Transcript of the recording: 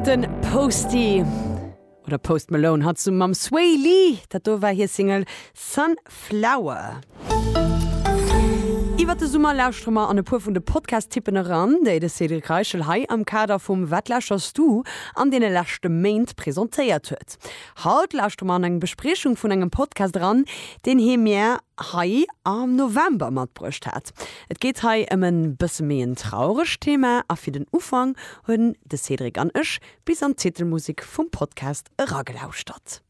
De Posty oder Post Malone hat zesumme mam Swae Lee, dat do war hir Single Sunflower. Iwwert de Summer lauschtere mer an e puer vun de Podcast-Tippen eran, déi de Cédric Reichel hei am Kader vum Wat lauschterst du an deene leschte Méint presentéiert huet. Haut lauschtere mer an eng Bespriechung vun engem Podcast eran, deen hie mir hei am November matbruecht hat. Et geet hei ëm en bësse méi en trauregt Thema a fir den Ufank hunn de Cédric an ech bis an d'Titelmusek vum Podcast eragelauschtert.